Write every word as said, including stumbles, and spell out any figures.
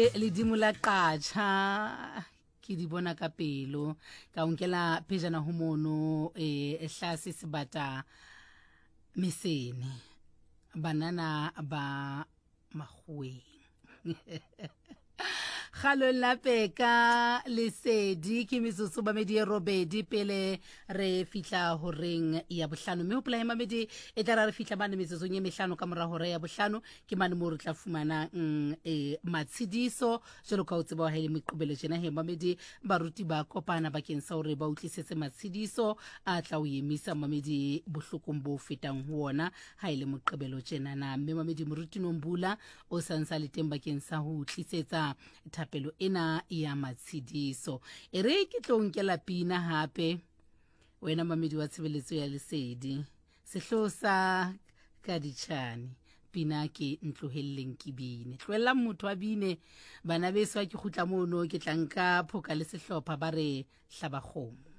Ledimo la qatjha ke di bona ka pelo ka o nkela pejana ho mono e hlase sebata mesene banana ba makgoweng kgalong la peka lesedi ke metsotso mamedi e robedi pele re fihla horeng ya bohlano mme hopola he mamedi e tla ra re fihla mane metsotsong e mehlano ka mora hora ya bohlano ke mane moo re tla fumanang e matshediso jwalo ka o tseba ha e le meqobelo tjena he mamedi baruti ba kopana bakeng sa hore ba utlisetse matshediso a tla o emisa mamedi bohlokong bo fetang ho ona ha e le moqebelo tjenana mme mamedi moruti Nombula o sa le teng bakeng sa ho tlisetsa thapelo ena ya matshediso e re ke tlo nkela pina hape wena mamedi wa tshebeletso ya lesedi sehloho sa kaditšhane pina ke ntlohelleng ke bine tlohellang motho a bine bana beso ha ke kgutla mono ke tla nka phoka le sehlopha ba re hlaba kgomo.